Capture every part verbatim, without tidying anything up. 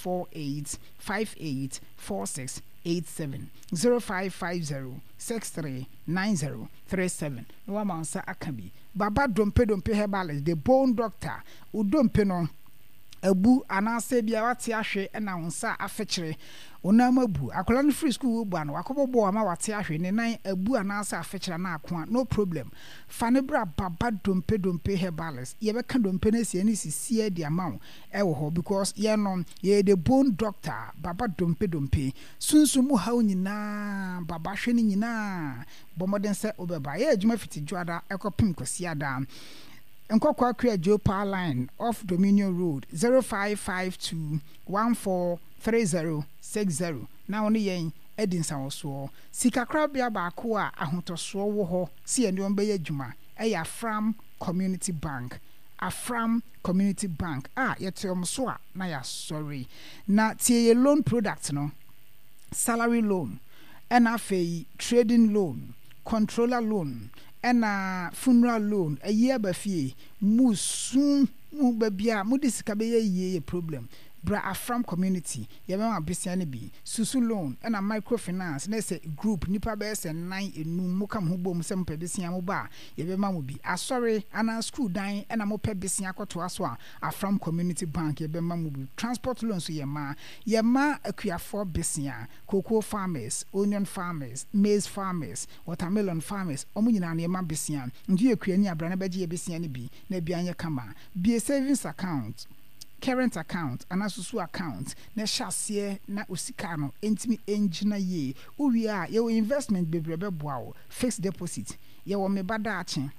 four eight five eight four six eight seven zero five five zero six three nine zero three seven na wama wo nsa aka bi. Baba Dompe Dompe Herbalist, the bone doctor, wo dompe no abu anaasɛ ebia wate ahwe na wo nsa afekyere, wo nan mu abu. Akwadaa no firi sukuu reba no, wakɔbɔ bɔɔl ama wate ahwe, ne nan abu anaasɛ afekyere anaa akoa, no problem. Fa no bra Baba Dompe Dompe Herbalist, yɛbɛka dompe no asi ani sisiɛ de ama wo ɛwɔ hɔ because yɛn no, yɛyɛ the bone doctor, Baba Dompe Dompe. Sunsum mu haw nyinaa, Baba hwɛ ne nyinaa. Bɔ mmɔden sɛ wobɛba. Yɛyɛ adwuma fiti Dwoada kɔpem Kwasiada. Nkɔkɔ Akua Joe Power Line off Dominion Road, zero five five two one four three zero six zero na wo ne yɛn adi nsawɔsoɔ. Sikakorabea baako a ahotɔsoɔ wɔ hɔ sɛ yɛne wɔn bɛyɛ adwuma yɛ Afram Community Bank. Afram Community Bank a yɛte wɔn so a na yɛasɔre. Na tie yɛn loan product no, salary loan, ɛna afei trading loan, controller loan, ɛna funeral loan. Ayi aba fie, musu mu baabi a mode sika bɛyɛ yie yɛ problem. Bra Afram Community, yɛbɛma besia no bi. Susu loan, ɛna microfinance, na sɛ group, nipa bɛyɛ sɛ nnan, enum, moka mo ho bom sɛ mopɛ besia mo ba a, yɛbɛma mo bi. Asɔre anaa school dan ɛna mopɛ besia akɔtoa so a, Afram Community Bank yɛbɛma mo bi. Transport loan nso yɛma. Yɛma akuafoɔ besia, cocoa farmers, onion farmers, maize farmers, watermelon farmers, ɔmo nyinaa no yɛma besia. Nti yɛ kuani a, bra na bɛgye yɛ besia no bi na bia nyɛ kama. Bie savings account, current account anaa susu account na ɛhyɛ aseɛ na osika no ntumi ngyina yie. Wowie a, yɛwɔ investment bebree bɛboa wo. Fixed deposit, yɛwɔ meba daakye,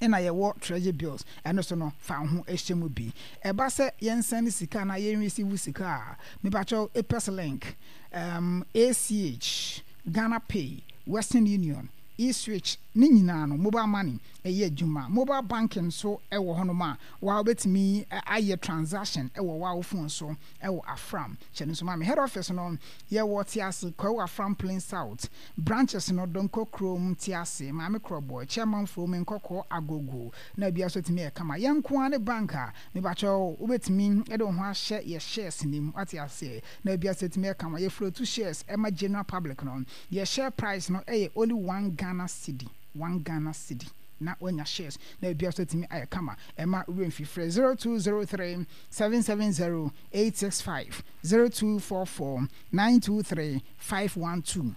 ɛna yɛwɔ treasury bills, ɛno so no fa wo ho hyɛ mu bi. Ɛba sɛ yɛnsɛn sika na yɛn receive sika a, mepakyɛw Apex Link, um, A C H, Ghana Pay, Western Union, eSwitch ne nyinaa no mobile money ɛyɛ adwuma. Mobile banking nso ɛwɔ hɔnom a waa wobɛtumi ayɛ transaction ɛwɔ waa wo phone so ɛwɔ Afram. Hyɛ no nso ma me. Head office no yɛwɔ Tease Kwawu, Afram Plain South. Branches no, Donko Kurom, Tease, Maame Korɔbɔ, Chairman Nkɔkɔ, Agogo na bia so tumi yɛ kama. Yɛn nko ara ne bank a mebakyɛw wobɛtumi de wo ho ahyɛ yɛ shares nim, wate aseɛ, na bia so tumi yɛ kama. Yɛ float shares ɛma general public no, yɛ share price no ɛyɛ only one Ghana cedi, one Ghana cedi na wanya shares na bia so tumi ayɛ kama. Ɛma wura mfifrɛ zero two zero three seven seven zero eight six five, zero two four four nine two three five one two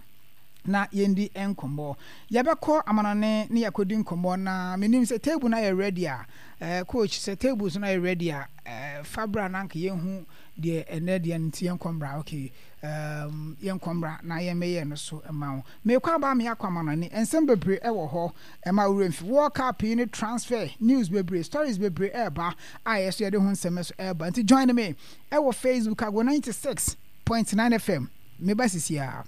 na yɛndi nkɔmmɔ. Yɛbɛkɔ amanɔne ne yɛakɔdi nkɔmmɔ na menim sɛ table no ayɛ ready a, eh, coach, sɛ table so no ayɛ ready a, eh, fa bra na anka yɛnhu deɛ ɛnɛ deɛ no nti yɛnkɔ mmra. Okay, um, yɛnkɔ mmra na yɛmmɛyɛ no so ma wo. Mekɔ aba me akɔ amanɔne, nsɛm bebree ɛwɔ hɔ. Ɛma wura mfi World Cup yi ne transfer news bebree, stories bebree ɛɛba a yɛ so yɛde ho nsɛm so ɛɛba, nti join me ɛwɔ Facebook, Ago ninety-six point nine F M. Meba sisi a.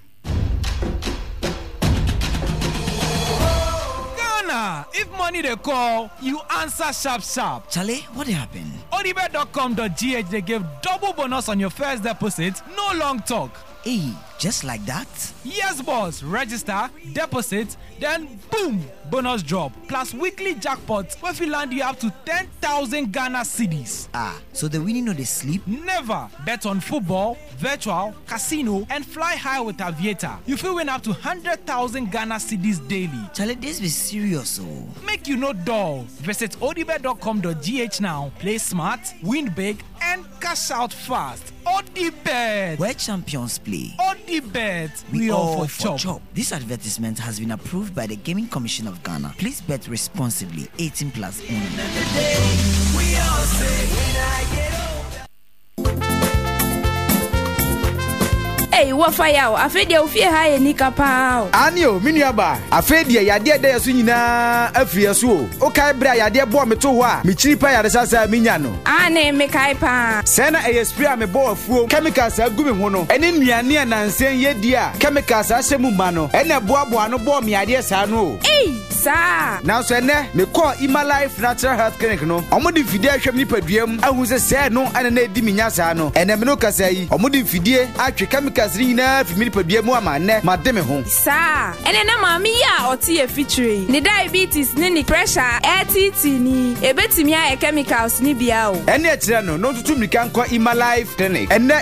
Ghana, if money dey call, you answer sharp sharp. Charlie, what happened? Odibet dot com dot G H dey give double bonus on your first deposit, no long talk. Hey, just like that? Yes, boss. Register, deposit, then boom, bonus drop. Plus weekly jackpots wey fit land you up to ten thousand Ghana cedis. Ah, so the winning no dey sleep? Never. Bet on football, virtual, casino, and fly high with Aviator. You fit win up to one hundred thousand Ghana cedis daily. Charlie, this be serious oh. Make you no dull. Visit odibet dot com dot G H now. Play smart, win big, and cash out fast. Odibet. Where champions play. Odibet. We, we all for, for chop. Chop. This advertisement has been approved by the Gaming Commission of Ghana. Please bet responsibly. eighteen plus only. We all say, when I get older. Ei, wɔfa yaw, afei deɛ ofie ha yɛ nika paa o. Ane o, me nua baa, afei deɛ yadeɛ da yɛ so nyinaa afiri yɛ so o. Wokae berɛ a yadeɛ bɔɔ me to hɔ a mekyiri pa yaresa saa menya no? Ane, mekae paa. Sɛɛ na ɛyɛ spray a mebɔɔ afuom, chemicals a agu me ho no, ɛne nnuane a nansɛn yɛdi a chemicals ahyɛ mu ma no ɛna ɛboaboa no bɔɔ me adeɛ saa no o. Ei, saa? Nanso ɛnɛ mekɔɔ Imalife Natural Health Clinic no, ɔmo de mfidie ahwɛ me nipadua mu ahu sɛ sɛɛ no ɛna na ɛdi me nya saa no. Ɛnɛ me no kasa yi, ɔmo de mfidie atwe chemicals no nyinaa fi me nipadua mu ama nnɛ made me ho. Saa? Ɛnɛ na maame yi a ɔte yɛ fikyire yi ne diabetes ne ne pressure a ɛɛtiitii ni, ebetumi ayɛ chemicals ne bia o. Ɛne ɛkyerɛ no na ɔntutu mmirika nkɔ Imalife Clinic ɛnɛ.